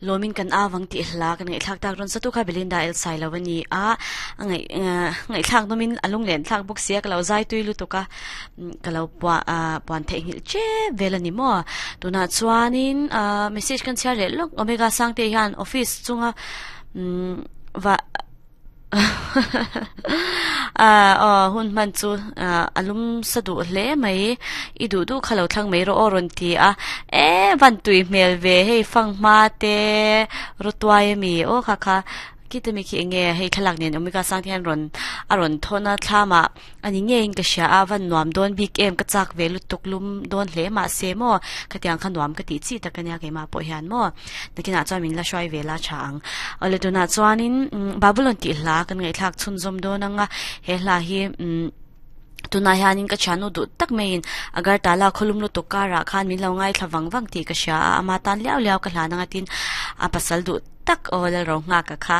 Lawmin kan avang tih hla kan ngaihthlak tak rawn satu kha Belinda El Sailo a ni a, a ngaih ngaihthlak nawmin a lunglen thlak bawk sia ka lo zai tui lutuk a, ka lo puah puan theihnghilh tep vel a ni maw. Tunah chuanin message kan chhiar leh lawk Omega Sangte hian office chunga va Aw hun hman chu a lum sa duh hle mai i duh duh kha lo thlang mai rawh aw rawn ti a e van tui hmel ve hei fanghma te rawtuai ami aw kha kha khita mi khi enge hei thlalak nen awmika sang te hian rawn a rawn thawn a thlam ah. A ni ngeiin ka hria a, van nuam dawn bik em, ka chak ve lutuk lum dawn hle mahse maw, khatiang kha nuam ka tih chi tak ania keimah pawh hian maw, nakinah chuan min la hruai ve la tha ang. Awle tunah chuanin Babulon tih hla kan ngaihthlak chhunzawm dawn ang a, he hla hi umm tunah hianin ka thiannu duh tak maiin Agartala khawlum lutuk karah khan min lo ngaithla vang vang tih ka hria a, ama tan liau liau ka hlan ang a tin a pasal duh tak aw Lalro nghak a kha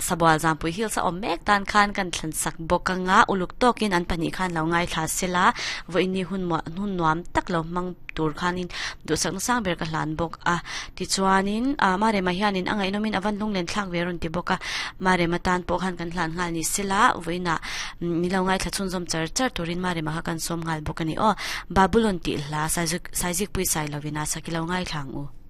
Sabual Zampui Hills a awm mek tan khan kan thlen sak bawk anga uluk tawkin an pahnih khan lo ngaithla sela vawiini hun hun nuam tak lo hmang tur khanin duhsakna sang ber ka hlan bawk a tichuanin Marema hianin a ngaihnawmin a van lunglen thlak ve rawn ti bawk a Marema tan pawh khan kan hlan nghal ni sela vawiinah ni lo ngaithla chhunzawm char char turin Marema kha kan sawm nghal bawk a ni aw Babulon tih hla Saizikpui Sailovina sakilo ngaithla ang u.